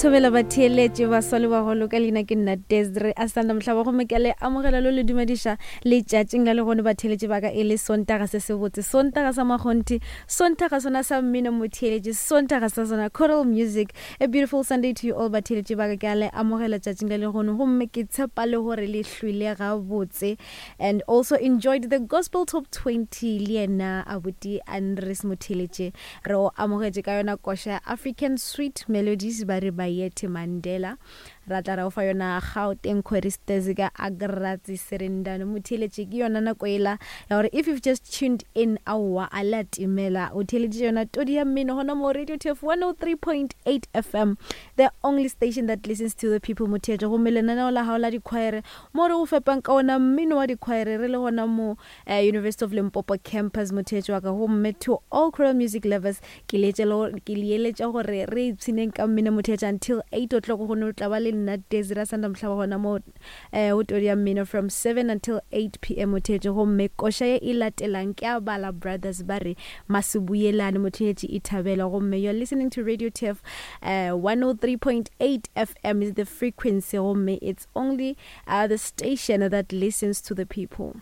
Thobela batheeletše baswa le bagolo ka leina ke nna Desiree Asanda Mohlaba gomme ke le amogela lo le dumediša letšatšing la legono batheeletše ba ka e le Sontaga se sebotse Sontaga sa makgonthe Sontaga sona sa mmino motheeletše Sontaga sa sona choral music a beautiful Sunday to you all batheeletše ba ka ke a le amogela tšatšing la legono gomme ke tshepa le gore le hlwile gabotse and also enjoyed the gospel top 20 le yena abuti Andres Motheeletše Re o amogetše ka yona koša ya African Sweet Melodies ba re Bayethe Mandela. Ra tla ra o fa yona Gauteng Choristers ka Agratsi Serendano. Motheeletše ke yona nako ela ya gore if you've just tuned in aowa a le a timela. O theeleditše yona todi ya mmino gona mo Radio TF 103.8 FM, the only station that listens to the people motheetše. Gomme lenaneo la gago la dikhwaere mo re go fepang ka ona mmino wa dikhwaere re le gona mo uh, University of Limpopo campus motheetši wa ka gomme to all choral music lovers ke leeletša gore re ipshineng ka mmino motheetša until 8 o'clock go ne o tla ba le nna Desira Sanda Mohlaba gona mo eh, go todi ya mmino from 7 until 8 pm motheetši gomme koša ye e latelang ke a bala brothers ba re masebuyelane motheetši e thabela gomme you're listening to Radio TF uh, 103.8 FM is the frequency gomme it's only uh, the station that listens to the people.